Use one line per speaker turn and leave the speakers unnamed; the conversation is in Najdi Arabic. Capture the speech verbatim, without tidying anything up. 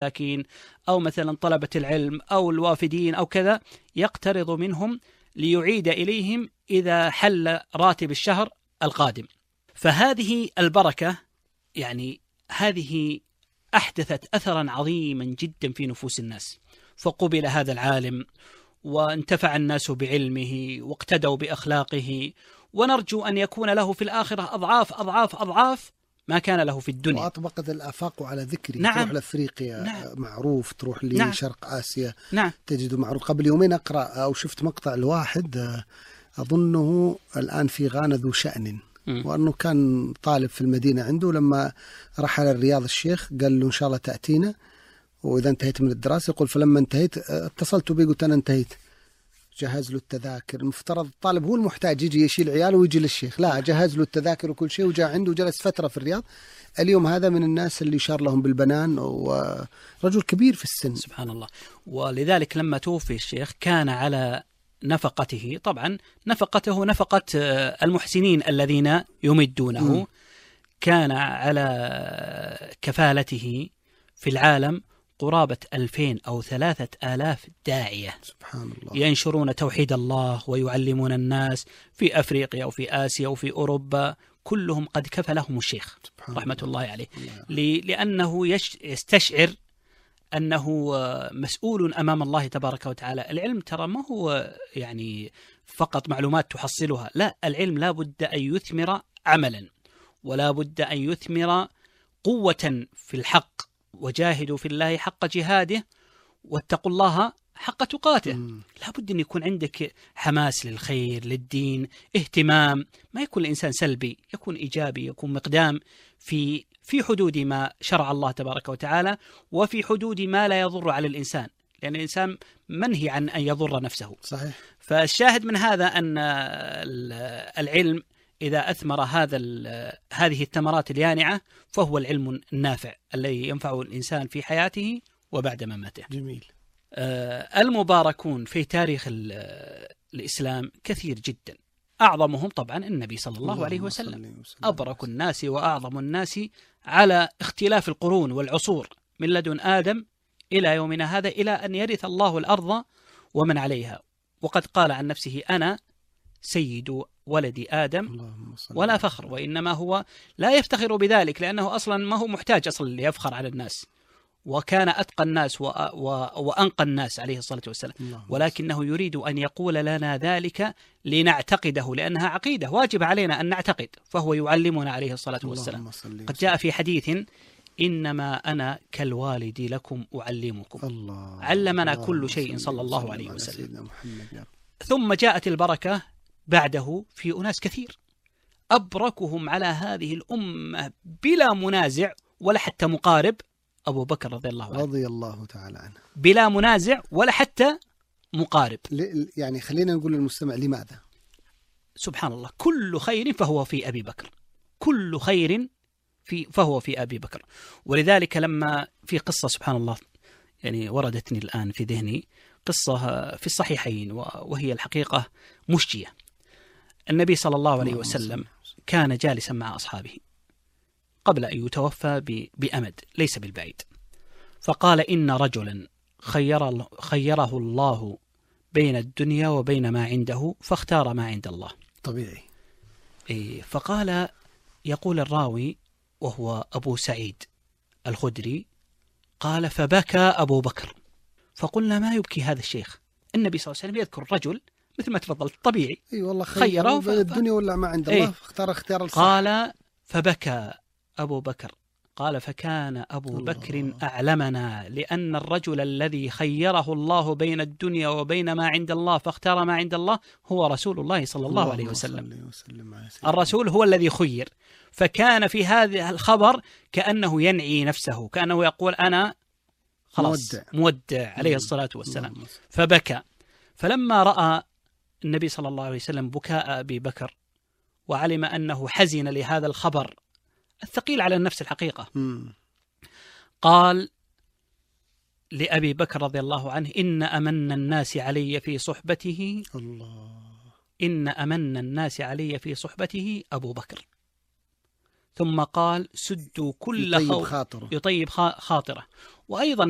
لكن أو مثلا طلبة العلم أو الوافدين أو كذا، يقترض منهم ليعيد إليهم إذا حل راتب الشهر القادم. فهذه البركة يعني هذه أحدثت أثرا عظيما جدا في نفوس الناس، فقبل هذا العالم وانتفع الناس بعلمه واقتدوا بأخلاقه، ونرجو أن يكون له في الآخرة أضعاف أضعاف أضعاف ما كان له في الدنيا.
وأطبقت الآفاق على ذكري.
نعم.
تروح لأفريقيا نعم. معروف، تروح لشرق نعم. آسيا
نعم.
تجد معروف. قبل يومين أقرأ أو شفت مقطع الواحد أظنه الآن في غانا ذو شأن، وأنه كان طالب في المدينة عنده، لما رحل الرياض الشيخ قال له إن شاء الله تأتينا وإذا انتهيت من الدراسة. يقول فلما انتهيت اتصلت بي قلت أنا انتهيت، جهز له التذاكر. المفترض الطالب هو المحتاج يجي يشيل عياله ويجي للشيخ، لا جهز له التذاكر وكل شيء، وجاء عنده وجلس فترة في الرياض. اليوم هذا من الناس اللي شار لهم بالبنان، ورجل كبير في السن
سبحان الله. ولذلك لما توفي الشيخ كان على نفقته، طبعا نفقته نفقة المحسنين الذين يمدونه، م. كان على كفالته في العالم قرابة ألفين أو ثلاثة آلاف داعية
سبحان الله
ينشرون توحيد الله ويعلمون الناس في أفريقيا وفي آسيا وفي أوروبا، كلهم قد كفلهم الشيخ رحمة الله, الله عليه الله. لأنه يستشعر أنه مسؤول أمام الله تبارك وتعالى. العلم ترى ما هو يعني فقط معلومات تحصلها، لا، العلم لا بد أن يثمر عملا، ولا بد أن يثمر قوة في الحق، وجاهدوا في الله حق جهاده واتقوا الله حق تقاته. لا بد أن يكون عندك حماس للخير للدين، اهتمام، ما يكون الإنسان سلبي، يكون إيجابي، يكون مقدام في في حدود ما شرع الله تبارك وتعالى، وفي حدود ما لا يضر على الإنسان، لأن الإنسان منهي عن أن يضر نفسه.
صحيح.
فالشاهد من هذا أن العلم إذا أثمر هذا هذه الثمرات اليانعة فهو العلم النافع الذي ينفع الإنسان في حياته وبعد مماته.
جميل.
آه المباركون في تاريخ الإسلام كثير جدا، أعظمهم طبعا النبي صلى الله, الله عليه وسلم، أبرك الناس وأعظم الناس على اختلاف القرون والعصور من لدن آدم إلى يومنا هذا، إلى أن يرث الله الأرض ومن عليها. وقد قال عن نفسه أنا سيد ولد آدم ولا فخر، وإنما هو لا يفتخر بذلك لأنه أصلا ما هو محتاج أصلا ليفخر على الناس، وكان أتقى الناس و... و... وأنقى الناس عليه الصلاة والسلام، ولكنه يريد أن يقول لنا ذلك لنعتقده، لأنها عقيدة واجب علينا أن نعتقد، فهو يعلمنا عليه الصلاة والسلام. قد جاء في حديث إنما أنا كالوالد لكم أعلمكم.
الله
علمنا
الله
كل شيء صلى الله عليه وسلم. ثم جاءت البركة بعده في أناس كثير، أبركهم على هذه الأمة بلا منازع ولا حتى مقارب أبو بكر رضي الله عنه
رضي الله تعالى عنه،
بلا منازع ولا حتى مقارب.
يعني خلينا نقول للمستمع لماذا؟
سبحان الله، كل خير فهو في أبي بكر، كل خير في فهو في أبي بكر. ولذلك لما في قصة سبحان الله يعني وردتني الآن في ذهني، قصة في الصحيحين وهي الحقيقة مشجية. النبي صلى الله عليه وسلم كان جالسا مع أصحابه قبل أن يتوفى بأمد ليس بالبعيد، فقال إن رجلا خير خيره الله بين الدنيا وبين ما عنده فاختار ما عند الله.
طبيعي.
فقال، يقول الراوي وهو أبو سعيد الخدري، قال فبكى أبو بكر، فقلنا ما يبكي هذا الشيخ؟ النبي صلى الله عليه وسلم يذكر رجل مثل ما تفضلت طبيعي،
أي والله خيره بين الدنيا ولا ما عند الله، فاختار اختيار الصح.
قال فبكى أبو بكر، قال فكان أبو الله. بكر أعلمنا، لأن الرجل الذي خيره الله بين الدنيا وبين ما عند الله فاختار ما عند الله هو رسول الله صلى الله, الله عليه وسلم. وسلم الرسول هو الذي خير، فكان في هذا الخبر كأنه ينعي نفسه، كأنه يقول أنا خلاص مودع, مودع عليه الصلاة والسلام. فبكى، فلما رأى النبي صلى الله عليه وسلم بكاء أبي بكر وعلم أنه حزن لهذا الخبر الثقيل على النفس الحقيقة،
مم.
قال لأبي بكر رضي الله عنه إن أمن الناس علي في صحبته
الله
إن أمن الناس علي في صحبته أبو بكر. ثم قال سدوا كل
يطيب
خو...
خاطره
يطيب خاطره وأيضا